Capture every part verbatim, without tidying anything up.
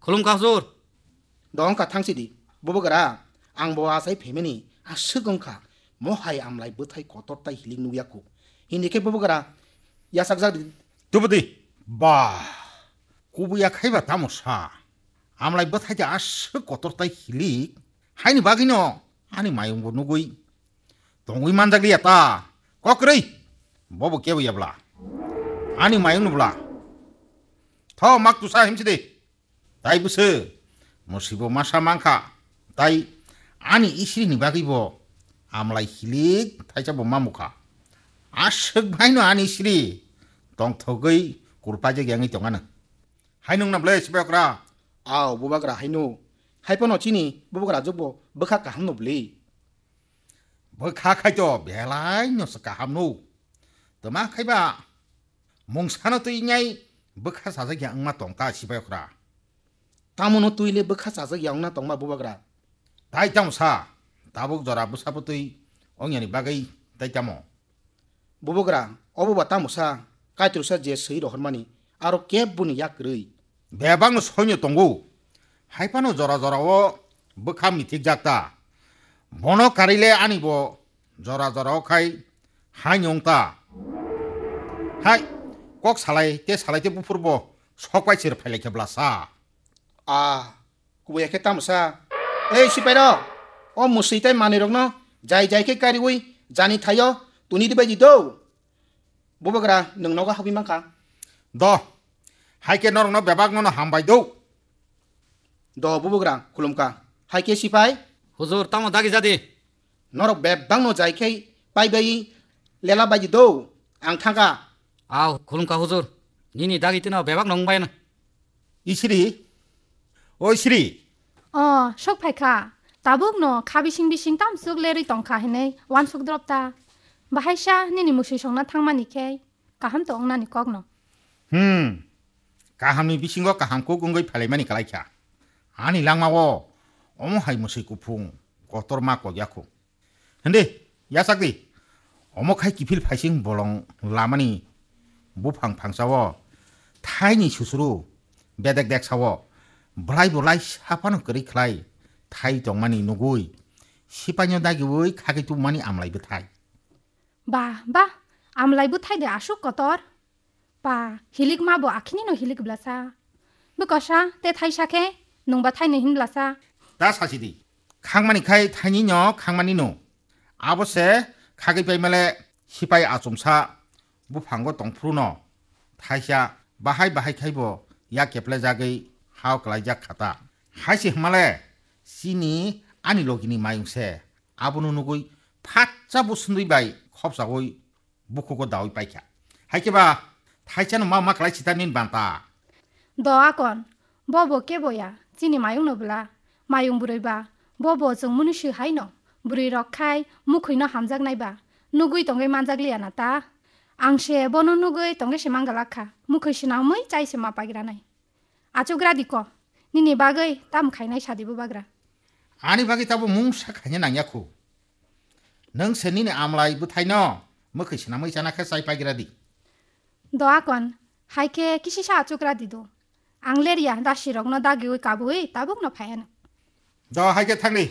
Khulumkha huzur. Dongkha thangsidi, bubagra, ang bo achai phaimani aswk wngkha, mohai amlai bwthai kotor tai hilik nukya kho. Hini khe bubagra, yachakjak di. Tubudi, ba, kubuya khaiba tamo sa? Amlai bwthai de aswk kotor tai hilik, haini bagwino ani mayung bo nugwi tongwi manjak liya ta. Kokrwi, bobo kebo yabla. Ani mayung nubla. Tho mak tusa himsidi. Tai bwswk, mwswibo masa mankha, tai ani isiri ni bagwi bo amlai hilik thaisa bo mamukha. Aswk baino ani isiri tongthogwi kurpajak yangwi tongano. Hai nung na ble sipai okra? Ao, bubagra haino. Hai pono chini bubagra jokbo bwkha kaham no bwli. Bwkha khai to belai no se kaham no. Tama khai ba mungsano twi ngai bwkha sajak ya wngma tong ta sipai okra. Tamo no twi le bwkha sajak ya wngna tongma bubagra? Tai tamo sa, tabuk jora bwsa bwtwi ong yani bagwi tai tamo? Bubagra, obo ba tamo sa, Kaitorsa je swi rohormani, aro keboni yak kwrwi. Bebakno soino tongo. Hai phano jora jorao bwkha mithikjak ta. Bono karile ani bo jora jorao khai hai nyong ta. Hai, kok salai te salai te buphur bo sok pai sir phailai khe bla sa. A, kubuya khe tamo sa. Ei sipai rok, o muswi tai manwi rokno jai jai khe kariwi jani thaio tuni di bai di do. Bubagra, nwng nogo habwi mankha? Do, hai khe norokno bebak nono hambai do. Do, bubagra, khulumkha. Hai khe sipai? Huzur, tamo dagi jadi? Norok bebak no jai khe pai bai lela bai di do. Ang thangkha. Ao, khulumkha huzur. Nini dagi tino bebak no wngbai na. Isiri, o Isiri. O, sok phaikha. Tabuk no kha bising bising tamsuk lerwi tongkha hinwi wansuk drop ta. Bahaisa nini muswi songna thangmani khe kaham to wngnani kokno. Hmm. Kahamni bisingo kaham kuk wngwi phailaimani kalaikha. Ani langmao omo hai muswi kuphung kotorma kokya kho. Hende, yachak di. Omo khai kiphil phaising bolong lamani buphang phangsao thaini susuru bedek dek sao bwlai bwlai saphano kwrwi khlai thai tongmani nugwi sipaino dagiwi khagwi tubumani amlai bwthai. Ba, ba, amlai bwthai de aswk kotor. Pa, hilik ma bo akhini no hilik blasa. Bwkosa, te thaisa khe, nungba thaini hin blasa. Ta sasi di. Khangmani khai thaini no khangmani no. Abo se khagwi pai male sipai achomsa buphango tongphuru no. Thaisa bahai bahai khai bo ya keple jagwi hao kwlaijak khata. Haisi hmale chini ani logini mayung se. Abono nugwi phatsa bo sundui bai khopsagwi bukhugo dawi paikha. Hai khe ba thaisano ma ma klai sita nini banta. Do akon, bo bo kebo ya, chini mayung no bwla. Mayung bwrwi ba, bo bo chwng mwnwi swi hai no. Bwrwi rok khai mukhwi no hamjak nai ba, nugwi tongwi manjak liya na ta. Ang se bono nugwi tongwi se mangala kha, mukhwi swnamwi chai se ma pagira nai. Achuk ra di ko, nini bagwi tam khainai sadi bubagra. Ani bagwi tabo mungsa khaina nangya khu. Nwng se nini amlai bwthaino mwkhwi swnamwi chana khe chai pagira di. Do akon, hai khe kisisa achuk ra di do. Ang lerya dasi rokno dagiwi kabui tabuk no phaiano. Do hai khe thangdi.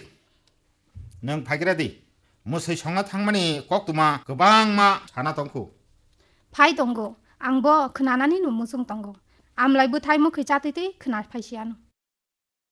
Nwng phaigra di. Mwswi songna thangmani koktwma kwbangma sana tongkhu. Phai tongo, ang bo khwnanani no muchung tongo. Amlai bwthai mwkhwi chatwi twi khwna phaisiano.